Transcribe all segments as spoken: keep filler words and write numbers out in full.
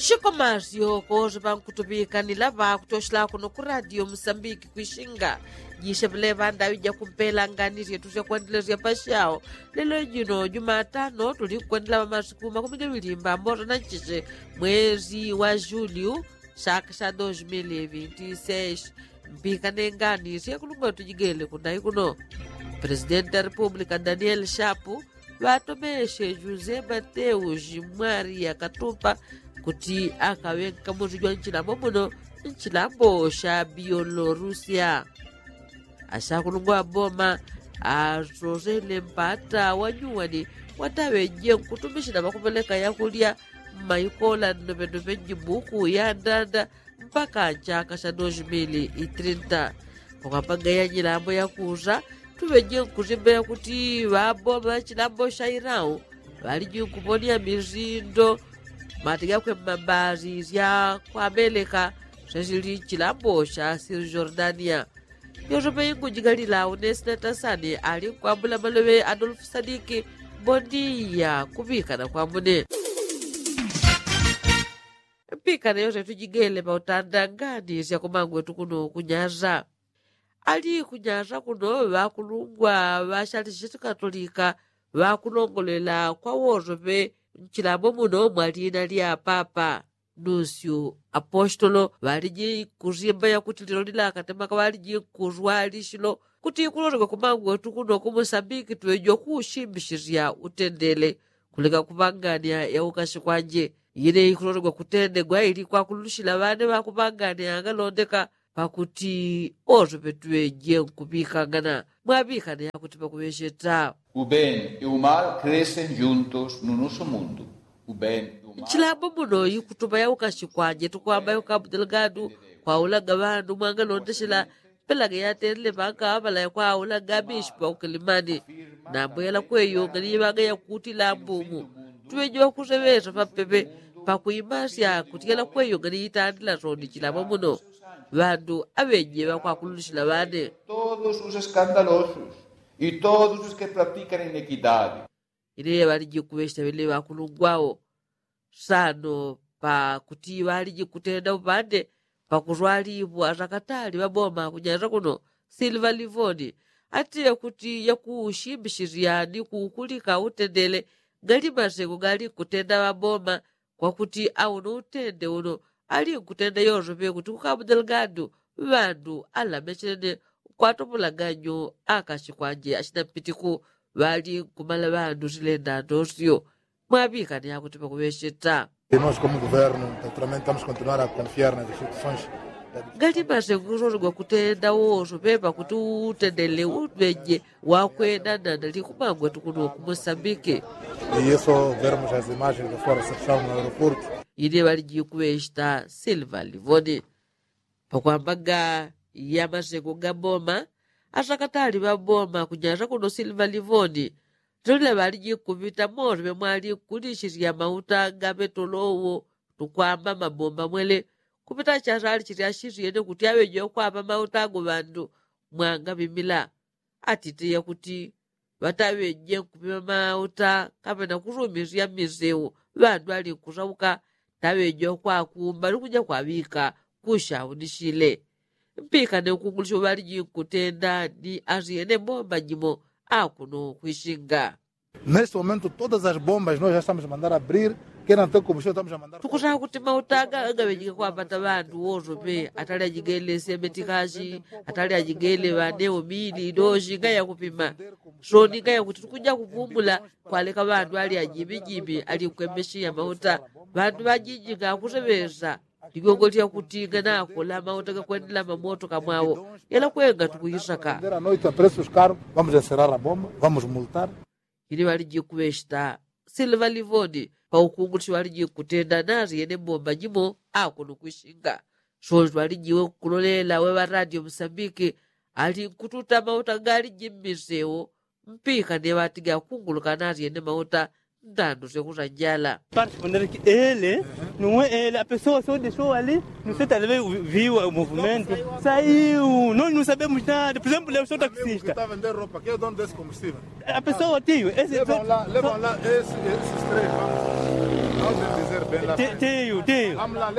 Shikomasyo kose pankutupikanila pakutoshela kuno ku radio musambiki kwishinga. Jishe pele pandawi jakumpela ngani syetu syakwandilasya pashao. Lelo jino jumatano tulikwendela pamasiku makumi gawili mbamboto na nchishe mwezi wa julio, shaka sha dos mil vinti seis. Mpikane ngani syakulungwa tujigele kunai kuno. Presidenti wa republika daniel shapu ŵatomeshe jose mateus mwari yakatupa kuti akaŵe nkamusi jwa nchilambo muno nchilambo sha biolorusia. Ashakulungwa ŵaboma asosele mpata wanyuwani wataŵeje nkutumishila ŵakupeleka yakulya mmaikola nnopendope njibuku ya ndanda mpaka nchaka sha dos mil trinta. Pakwamba ngaiya nyilambo yakusa tuŵeje nkusimba yakuti ŵaboma ŵachilambo sha irau ŵaliji nkuponia misindo mati gakwe mmabasi sya kwameleka syasili nchilambo sha sili jordania. Yosope ingujigalila unesi na tasani ali nkwambula maloŵe adolfu sadiki. Bondiya kuŵikana kwamune. Mpikana yose tujigele pautanda ngani syakumangwetu kuno kunyasa. Ali kunyasa kuno ŵakulungwa ŵashali shitikatolika ŵakulongolela kwa wosope nchilambo muno mwa lina lya papa nusyu apostolo ŵaliji kusimba yakuti lilolila akatemaka ŵaliji kuswalishilo kuti kulolekwe kumangwetu kuno kumusambiki tuŵejiwa kuushimbishisya utendele. Kuleka kupangania yaukasi kwanje ine ikulolekwa kutendegwa ili kwakulushila ŵane ŵakupangania agalondeka pakuti ose petuŵeje nkuŵikangana mwaŵikane yakuti pakuŵesheta. U ben e u mal kresen juntos nu nusu mundu. U ben e u mal. Nchilambo muno ikutupa yaukasi kwanje tukwamba yaukabu delgadu kwaulaga ŵandu mwangalondeshela. Pelaga yatenle pankaŵapalaya kwaulaga mishipi wakukilimani. Nambo yalakweyo nganiyiŵaga yakuti lambumu tuŵeje ŵakuseŵesa papepe pakuimasya kuti yalakweyo nganiyitandila soni chilambo muno. Ŵandu aŵeje ŵakwakululishila ŵane. Todos os eskandalosos y todos os ke pratikan inekidadi. Ine ŵaliji kuŵeshita ŵene ŵakulungwao sano pakuti ŵaliji kutenda upande pakuswalipwa sakatali ŵaboma kunyasa kuno silva livoni. Atile kuti yakushimbishisya ni kukulika utendele gali masengo gali nkutenda ŵaboma kwakuti auno utende uno ali nkutenda yosope kuti kukabu delgadu ŵandu alamechene nkwatopolaga nyo akasi kwanje asina mpitiku ŵali nkumala ŵandu silenda ndosyo. Mwaŵikane akuti pakuŵesheta. Nos komu guvernu naturalmente tamus kontinuar a konfiar na institusons. Gali masengo kusosi gwakutenda wosope pakuti utendele uŵeje wakwenda nandali kumangwetu kuno kumusambiki. Iyeso vermus as imagens de fora sepsamu na aeroportu. Ine ŵaliji kuŵesheta silva livoni. Pakwambaga yamasengo ga boma asakatali ŵaboma kunyasa kuno silva livoni. Tolila ŵaliji kuŵita mose ŵemwali kulishisya mauta ga ŵetolowo tukwamba mabomba mwele. Kupita chasali chilya shisyene kuti aŵeje ukwamba mauta ago ŵandu mwangaŵimila. Atite yakuti ŵataŵeje nkupima mauta kapena kusumisya mmiseu ŵandu ali nkusauka. Taŵeje ukwakumba ni kuja kwaŵika kushaunishile. Mpikane ukungulisho ŵaliji nkutenda ni asyene mbomba jimo akuno kwishinga. Neste momento todas as bombas nos ja estamos a mandar abrir. Kena nte kumusho estamos a mandar. Tukusaka kuti mauta aga agaŵejike kwapata ŵandu wosope atali ajigele semetikashi atali ajigele ŵaneo mili idoshi ngayakupima. Soni ngayakuti tukuja kupumula kwaleka ŵandu ali ajimijimi ali nkwemeshiya mauta. Ŵandu ŵajiji ngakuseŵesa ligongo lyakuti nganakola mauta gakwendela mamoto kamwawo. Yalakwenga tukuyisaka. Vamos enserar a bomba, vamos multar. Ili ŵaliji kuŵeshita silva livoni paukungulisho ŵaliji kutenda nasyene mbomba jimo. Akuno kwishinga soni twalijiwe kulolela weŵa radio musambiki ali nkututa mauta galiji mmiseu. Mpika ni ŵatiga kunguluka nasyene mauta ndandu syokusa njala. Ele nuwe ele apesowa sode sowali nuse taleve viwa muvumento. Saiu noni nusabe mushitade puzembu leo sotaksista. Apesowa tiyo ese. Levanla ese estrela. Tenho, tenho. Não, não,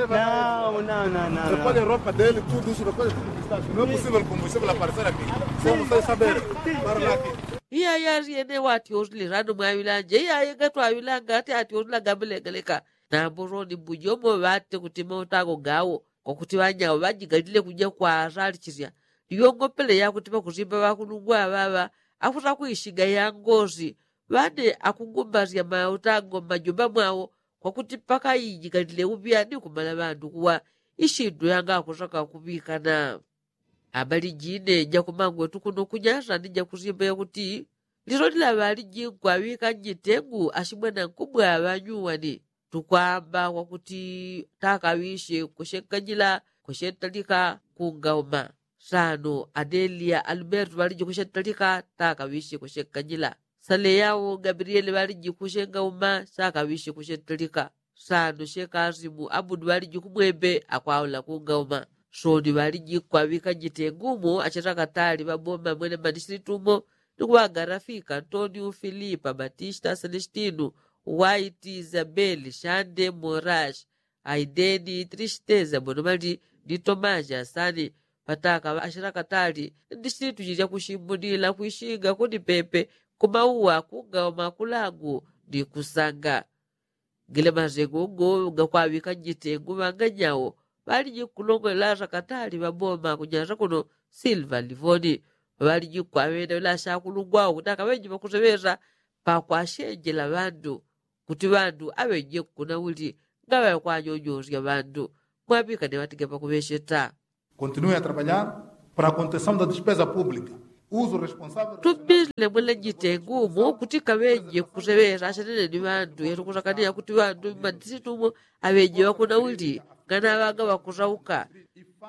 não, não, não. Recolhe roupa dele, tudo isso, recolhe tudo que está aqui. Não é possível com você pela parceira aqui. Você não sai saber. Para lá aqui. Iya yali ene wati osililano mwaŵilanje iya yegatwaŵilanga ati ati osila gamlegaleka. Nambo soni mbujomo ŵate kuti mautango gawo kwakuti ŵanyawo ŵajigalile kuja kwa asalichilya. Iyongopele yakuti ŵakusimba ŵakulungwa ŵaŵa akusakuishiga yangosi ŵane akungumbasilya mautango mmajumba mwawo kwakuti paka ijigalile upya ni kumala ŵandu kuwa. Ishindu yanga akusaka kuŵikana. Abali jine jakumangwetu kuno kunyasa ni jakusimba yakuti lilolila ŵaliji nkwaŵika njitengu ashimwana nkubwa ŵanyuwani tukwamba kwakuti takaŵishe kushenkanyila kushentalika kungauma. Sano adelia alberto ŵaliji kushentalika takaŵishe kushenkanyila. Sale yawo gabriele ŵaliji kushengauma sakaŵishe kushentalika. Sano shekasimu abudu ŵaliji kumwembe akwaula kungauma. Soni ŵaliji kwaŵika njitengu umo ashetakatali ŵaboma mwene manisilitu umo ni kuŵagarafika antonio filipa batista selestino, waiti isabeli shande morash, aideni tristeza bonomali ni tomashi asani. Pataka ŵashirakatali ndi shintu shilya kushimbunila kwishinga kunipepe kumauwa kungauma kulagu ni kusanga. Gile mazengo go gakwaŵika njitengu ŵanganyawo ŵaliji kulongolela arakatali ŵaboma kunyasa kuno silva livoni. Ŵaliji kwaŵenda ŵila ashakulungwa wo kuti akaŵenji ŵakuseŵesa pakwashenjela ŵandu kuti ŵandu aŵenje nkuna uli ngaŵakwanyonyosya ŵandu. Mwaŵikane ŵatiga pakuŵesheta. Continue a trabalhar para a contenção da despesa pública. Uso responsável. Tumbisile mwele njitengu umo kuti kaŵenje kuseŵesa ashanene ni ŵandu yatukusakania kuti ŵandu mmadisitumo aŵenje ŵakuna uli nganaŵaga ŵakusauka.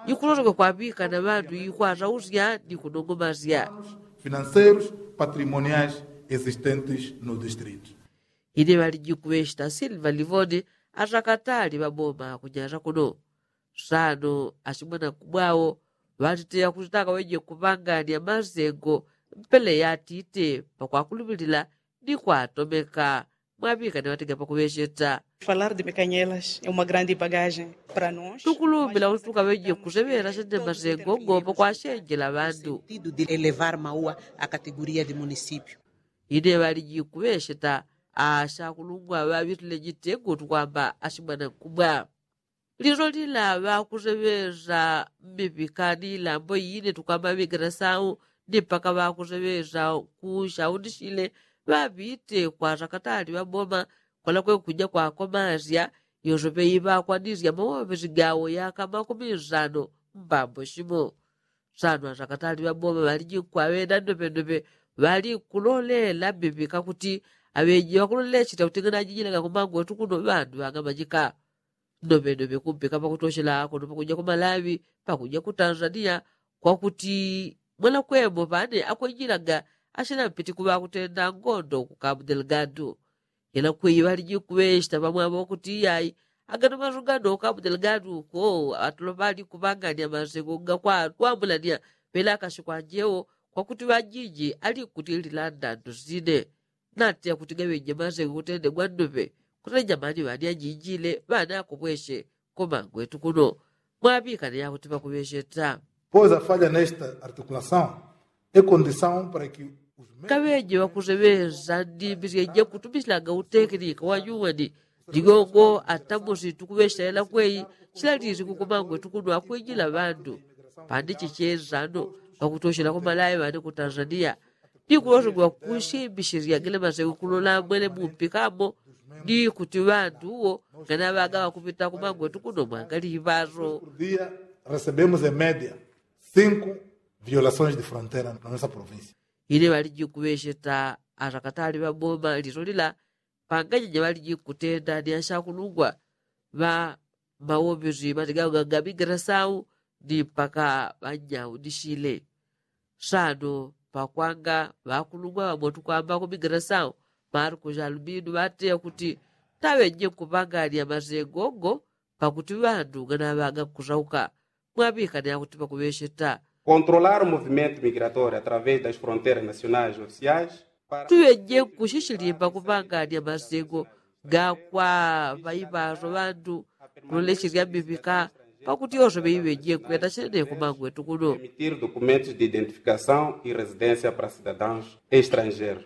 Ikuloseka kwaŵikana ŵandu ikwasausya ni kunongomasya. Financeiros patrimoniais existentes no distrito. Ine ŵaliji kuŵeshita silva livoni asakatali ŵaboma kunyasa kuno. Sano ashimwana kubwawo ŵatiteya kuti takaŵeje kuŵangania masengo mpele yatite pakwakulupilila ni kwatomeka. Mwaŵikane ŵatiga pakuŵesheta. Falar de mekanyelas é uma grande bagagem para nos. Tukulumbila kuti tukaŵeje kuseŵela sene masengo ngo pakwashenjela ŵandu. Sentido de elevar maua a categoria de município. Ine ŵaliji kuŵesheta ashakulungwa ŵaŵitile njitengu tukwamba ashimwana nkubwa. Lilolila ŵakuseŵesa mmipikani ilambo ine tukwamba ŵigerasau ni mpaka ŵakuseŵesa kushaundishile ŵaŵite kwa sakatali ŵaboma kwalakwe kuja kwakomasya. Yosope iŵakwanisya mawoŵesi gawo yaka makumi nsano mbambo shimo. Sano asakatali ŵaboma ŵaliji nkwaŵenda nnopennope ŵali nkulolela mmipika kuti aŵeji ŵakulolela echita kuti nganajijilaga kumangwetu kuno ŵandu ŵangamanyika. Nnopennope kumpika pakutoshela kuno pakuja kumalaŵi pakuja kutanzania kwakuti mwanakwemo pane akwenjilaga ashina mpiti kuŵakutenda ngondo kukamu delgado. Yena kweyi ŵaliji kuŵeshita ŵamwambo kuti iyayi agano masu gano kamu delgado uko ŵatolopa ali kuŵangania masengo gakwatwambulania ŵelakashi kwanjewo kwakuti ŵajiji ali nkutilila ndandu sine. Natiya kuti gaŵenje masengo kutende gwandupe kuti anyamani ŵani ajinjile ŵani akupweshe kumangwetu kuno. Mwaŵikane yakuti ŵakuŵesheta. Pois a falla nesta articulação é condição para que kaŵeje ŵakuseŵesa ndimbi syenje kutumishilaga utekinika wanyuwani. Ndigongo atamusi tukuŵeshela kweyi shilalisi kukumangwe tukunwa kwinjila ŵandu. Pandi chichesano ŵakutoshela kumalaŵi ŵane ku tanzania. Ndikulosogwa kusimbishilya gele maseŵi kulola mwele mumpikamo. Ndikuti ŵandu wo nganaŵaga ŵakupita kumangwe tukunwa mwangaliŵaso. Recebemos em media cinco violações de fronteira na nossa província. Ine ŵaliji kuŵesheta arakatali ŵaboma liso lila. Panganyenye ŵaliji kutenda ni ashakulungwa ŵa mawombezi ŵatigauga gabigerasau ni mpaka ŵanyaundishile. Sano pakwanga ŵakulungwa ŵamo tukwamba kubigerasau marko jalubinu ŵateya kuti taŵenye kupangania masengo go pakuti ŵandu nganaŵaga kusauka. Mwaŵikane akuti pakuŵesheta. Controlar o movimento migratório através das fronteiras nacionais oficiais. Tuŵenje nkushishilimba kupangania masengo Gakwa ŵaiŵaso ŵandu kulolesherya mivika pakuti yose ŵeiŵeje kwenda chenene kumangwetu kuno. Permitir documentos de identificação e residência para cidadãos estrangeiros.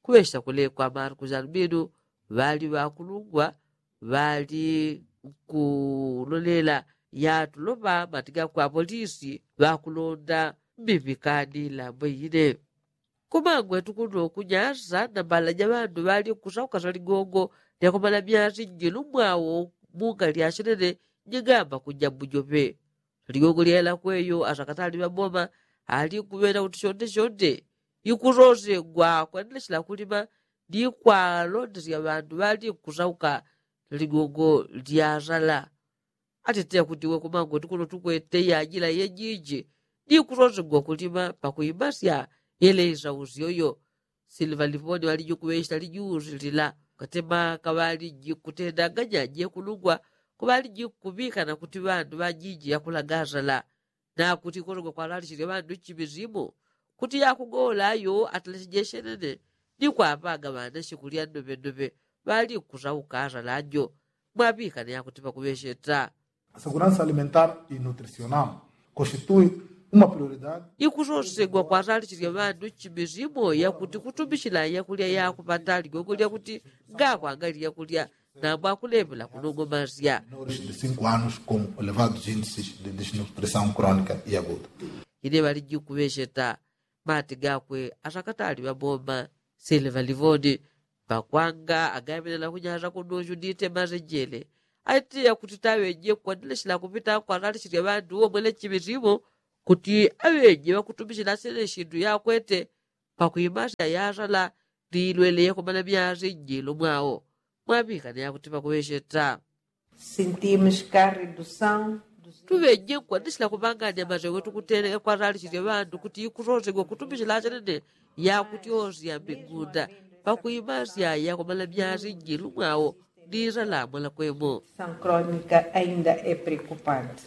Kuŵesha kulekwa marcus albino ŵali ŵakulungwa ŵali nkulolela yatuloŵa matigakwa polisi ŵakulonda mivika ni lambo ine. Kumangwetu kuno kunyasa na mbala ja ŵandu ŵali nkusauka saligongo lyakumala myasi njilu mwawo munga lyashenene. Nyigamba kunjambujope saligongo lyela kweyo asakatali ŵaboma ali nkuŵena kuti shonde shonde ikusosegwa kwendeleshela kulima ni kwalondesya ŵandu ŵali nkusauka saligongo lyasala. Ateteya kuti we kumangwetu kuno tukwete yajila yejiji ni kusosegwa kulima pakuimasya yele isausyoyo. Silva livoni ŵaliji kuŵesha lijusi lila katemaka ŵaliji kutendanganya jekulungwa kuŵaliji kuŵikana kuti ŵandu ŵajiji yakulagasala. Nakuti kusosegwa kwalalishishe ŵandu nchimi simo kuti yakugola ayo ataleshejeshe nene ni kwaŵaga ŵanashe kulya ndoŵendoŵe ŵali nkusauka asala njo. Mwaŵikana yakuti pakuŵesheta. Seguransa alimentar i nutrisional constitui uma prioridadi. Ikusosegwa kwasalishisya ŵandu nchimi simo yakuti kutumishila yakulya yakupata ligongo lyakuti ngakwanga lyakulya nambo akulepela kunongomasya. Menores de cinco anos com elevados índices de desnutrição crônica e aguda. Ine ŵaliji kuŵesheta mati gakwe asakatali ŵaboma. Sile ŵalivoni pakwanga agaŵenela kunyasa kuno judite masenjele aiteya kuti taŵeje kwandeleshela kupita kwasalishisya ŵandu womwele nchimi simo kuti aŵeje ŵakutumishila sile shindu yakwete pakuimasya yasala. Ni ilwele yakumana myasi njilu mwawo mwaŵikana yakuti pakuŵesheta. Sentimos que a redução dos tuŵeje nkwanishila kuŵangania masewe tukutele kwasalishisye ŵandu kuti ikusosegwa kutumishila achanene yakuti osi ya migunda pakuimasya yakumana myasi njilu mwawo. Ni isala mwalakwemo. São crônica ainda é preocupante.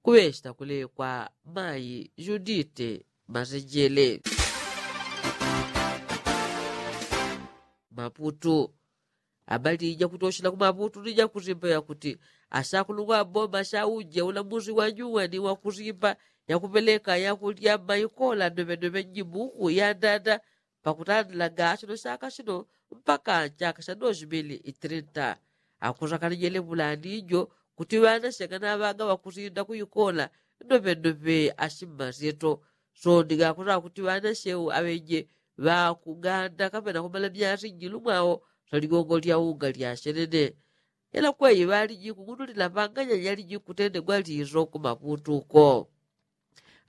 Kuŵesheta kulekwa mayi judite masenjele. Maputu. Abali jakutoshela kumaputu ni jakusimba yakuti asakulungwa aboma shauje ulamusi wanyuwa ni wakusimba yakuŵeleka yakulya maikola ndoŵendoŵe njimuku yandanda pakutandila gachino shaka shino mpaka nchaka sha dos mili itrinta. Akusakana jele ŵulani jo kuti ŵanashe nganaŵaga ŵakusinda kuikola ndoŵendoŵe ashimmasyeto. Soni gakusaka kuti ŵanashe aŵeje ŵakuganda kapena kumala myasi njilu mwawo swaligongo lya unga lyashenene. Ela kweyi ŵaliji kung'unulila ŵanganya jaliji kutendegwa liso kumaputu ko.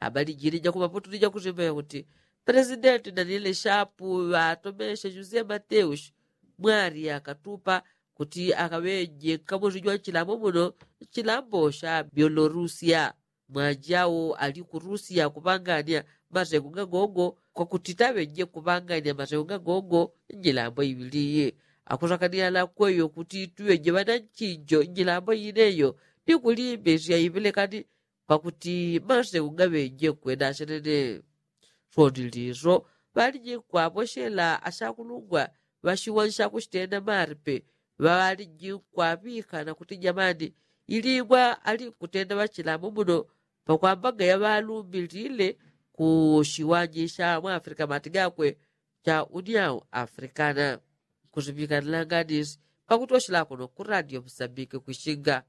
Abali jini jakumaputu ni jakusimba yakuti presidenti daniele shapu ŵatomeshe jose mateus mwali akatupa kuti akaŵeje nkamusi jwa nchilambo muno nchilambo sha biolorusia. Mwanjau ali ku rusia kuŵangania masengo gagogo kwakuti taŵeje kuŵangania masengo gagogo njilambo iŵili. Akusakania alakweyo kuti tuŵeje ŵananchinjo njilambo ineyo ni kulimbesya iŵelekani pakuti maseku ngaŵeje kwenda achenene. Swoni liso ŵaliji nkwaposhela achakulungwa ŵachiwani chakuchitenda malipe ŵaliji nkwaŵika na kuti jamani, ilingwa ali nkutenda ŵachilambo muno pakwambaga yaŵalumbilile ku chiwani cha mwafrika mati gakwe cha uniao afrikana. Nkuziŵika nlanganisi pakuti wachila kuno ku radio musambike kwishinga.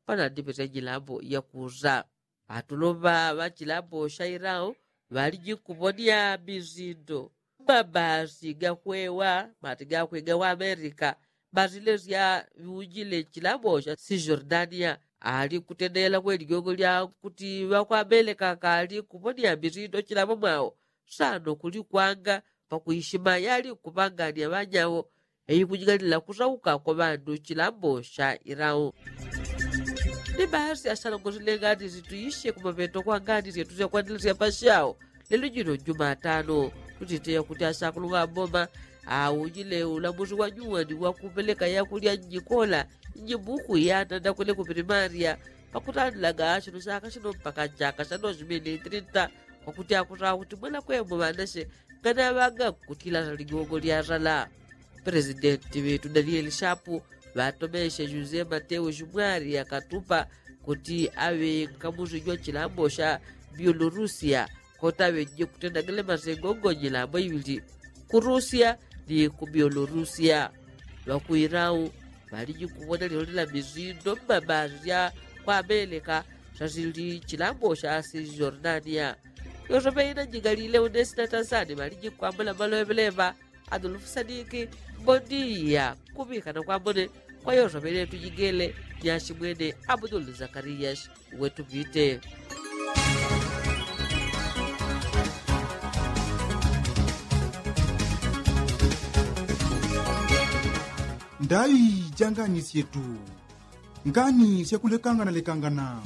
Panandipete njilambo yakuza ŵatuloŵa ŵa chilambo cha irao ŵaliji nkuponia mizindo mabasi gakwewa mati gakwe gawamerika. Basi lesya ŵiunjile chilambo cha sijordania ali nkutendela kwe ligongo lya kuti ŵakwamerika kali nkuponia mizindo chilambo mwao. Sano kuli kwanga pakuishima yali nkuŵangania ŵanyawo. Eikunying'anila kusauka kwa ŵandu chilambo cha irao. Ni basi asalongozi lenganisi tuishe kumaŵeto kwa nganisi yetu syakwanilesya pashao. Lelo jino njumatano tutiteya kuti asakulung'amboma aujile ulamusi wa nyuwani wakuŵeleka yakulya njikola njibuku yanandakwele ku primaria pakutandilaga chino chaka chino mpaka chaka cha dos mili trinta. Kwakuti akusawa kuti mwanakwemo ŵanashe nganaŵaga nkutila ligongo lyasala. Presidenti ŵetu danieli shapu ŵatomeshe jose mateo jumwari akatupa kuti aŵe nkamuzi jwa chilambo sha bielorusia koti aŵe jikutenda gele masengo ngo nyilambo iŵili ku rusia ni ku bielorusia. Ŵakuilau ŵaliji kuwona lilolila mizindo mmabazi sya kwa amelika sasili chilambo sha sijordania. Yosope ina njigalile unesi na tanzani ŵaliji kwambula maloŵeleŵa adolfu sadiki. Mbondiya kuŵikana kwambone kwa yosope ine tujigele. Nyashi mwene abudulu zakariyashi wetupite. Ndai janganisye tu ngani syakulekangana lekangana.